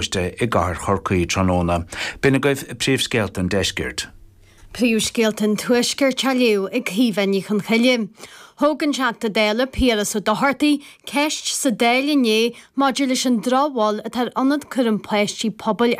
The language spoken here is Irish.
Choiste i gcathair Chorcaí tráthnóna. B'in agaibh príomhscéalta an deiscirt. Príomhscéalta an Tuaiscirt á léamh ag Caoimhe Ní Chonchoille. Thóg an Teachta Dála Piaras Ó Dochartaigh ceist sa Dáil inné maidir leis an drochbhail atá ar Ionad Cúram Páistí Pobail ar.